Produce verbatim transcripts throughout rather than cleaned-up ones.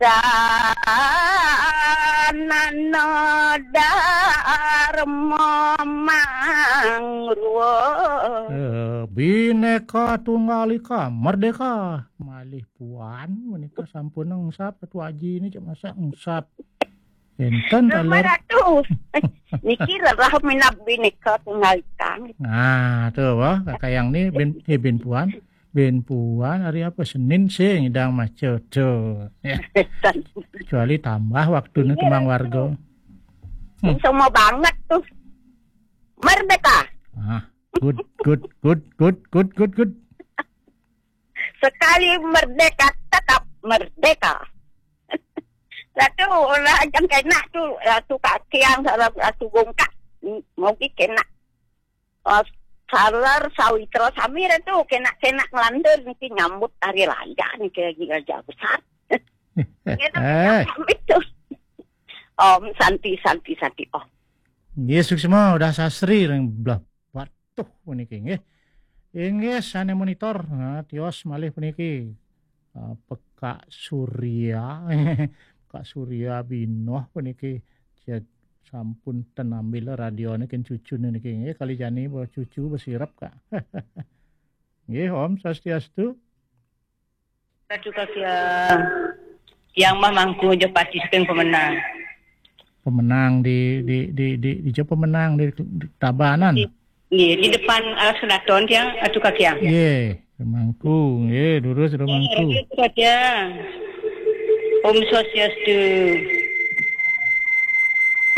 Danana Dharma Mangruwa. Eh, Bhinneka Tunggal Ika, merdeka. Malih puan menika sampun engsap, Ratu Aji ini cek masak engsap. Enten taler. Ratu. Niki lerah minab Bhinneka Tunggal Ika. Nah, tuh, wah, kakayang ni bin, eh, bin puan. Bin puan hari apa? Senin sih ngidang maca tuh. Ya. Kecuali tambah waktu ni. Iya, kemang warga. Hmm. Semua banget tuh. Merdeka. Ah, good, good, good, good, good, good, good. Sekali merdeka, tetap merdeka. Ratu, ulah ajang kena tu, Ratu Kakiang, Ratu Gongkak, mogi kena. Oh, Salar Sawitra sami Ratu, kena-kena ngelantur niki nyambut hari raja niki lagi raja besar. Kena Eh. Sami tu. Om Santi, Santi, Santi. Oh. Nggih, suksma udah sasri ring belah Batuh puniki nggih. Inggih, sane monitor. Nah, tios malih puniki. Ah, Pekak Surya. Pekak Surya Binoh puniki. Cek sampun ten ambil radione ken cucune niki nggih. Kali jani bawa cucu besirep, Kak. Nggih, Om Swastiastu. Ratu Kakiang. Yang Mah Mangku Jopati saking Pemenang. Pemenang di, di, di, di, di, di pemenang di, di Tabanan. Di, di, di depan Alas Keraton tiang, Ratu Kakiang. Ye, Mangku, ye, lurus Ratu Mangku. Ratu Kakiang. Om Swastiastu.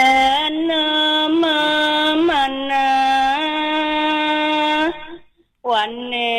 Anama mana wane